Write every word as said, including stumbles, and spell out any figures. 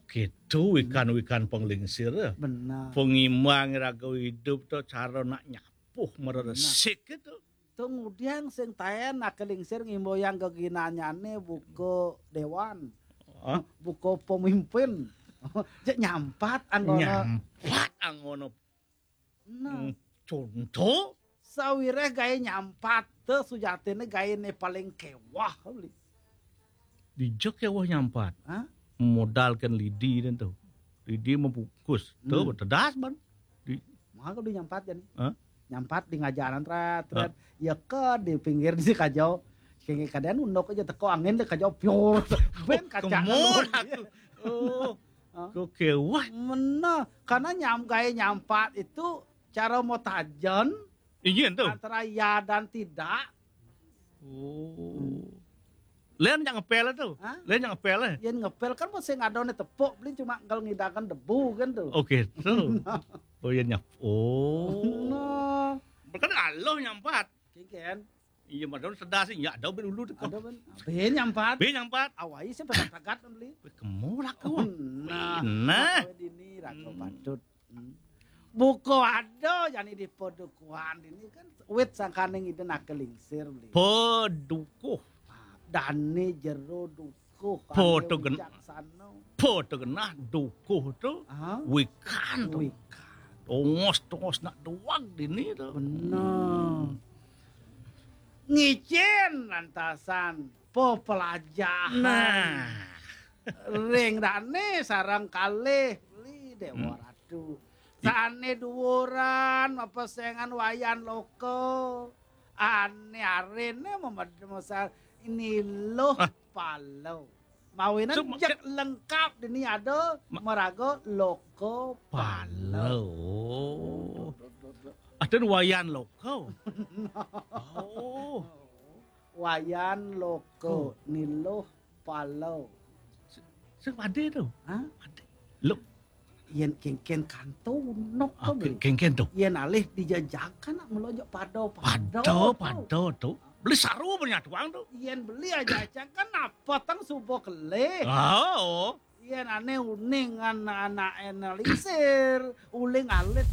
Gitu wikan-wikan panglingsir. Benar. Pangimang raga idup tu cara nak nyapuh mara resik gitu. Tu ngudiang sing taén aké lingsir ngimboyang geginanyané buka déwan. Hah? Buka pemimpin. Jek nyampat anggona. Nyampat anggona. Nah, hmm, contoh? Sawiréh gaé nyampat, té sujatiné gaéné paling kéweh, Bli. Dija kéweh nyampat. Hah? Modal kén lidi dan tu. Lidi mabungkus. Tu hmm, tedas ban. Di maka di nyampat jan. Hah? Nyampat di ngajaran trét, trét. Hah? Ya ke di pinggir di kajau. Sing kadén unduk aja teko angin di kajau piur. Bén kaca. Kemul aku. Oh. Hah? Kok kéweh? Meneh, karena nyam gaé nyampat itu cara mau tajen. Iya tu. Antara ya dan tidak. Oh. Hmm. Lén yang ngepel tu. Hah? Lén yang ngepel. Yén ngepel kan mesti ngadone tepuk, Bli cuma kalau ngidakan debu kan tu. Oke, tu. Oh iya nyap. Oh. Nah. Kan aloh nyampat. Kéngkén. Iya, madon sedas ya ada ben dulu teko. Ada ben. Bé nyampat. Bé nyampat. Awai sih pesan tagat Bli. Wih, kemu laku. Oh, nah. Nah. Awai dini raga hmm, patut. Hmm. Buka ada jani di padukuhan ini kan wit sangkane ngiden aké lingsir Bli. Padukuh. Ah, dane jero dukuh. Pada gen-, bijaksana. Pada genah dukuh tu. Ah? Wikan tu. Wikan. Tongos-tongos nak duag dini tu. Bener. Ngicén lantasan pepelajahan. Nah. Ring dane sareng kalih Bli Déwa hmm, Ratu. Sané duwuran mapesengan Wayan Loka. Ané ariné memed-, mesar ini loh ah, palo. Mawinan so, jek lengkap dini ada ma-, meraga Loka palo. Palo. Adan Wayan Loka. Oh. Wayan Loka oh, niluh pala. Sing padé to? Hah? Padé. Lho. Yén kéngkén kanto nok ah, to, Bli. Kéngkén to. Yén alih dijajakan nak mula aja pada, pada, pada to. Beli saru punya tuang to. Yén beli aja aja kan apa tang subuh kelih. Ah, oh. Yén ané uning anak-anak lingsir, uling alit.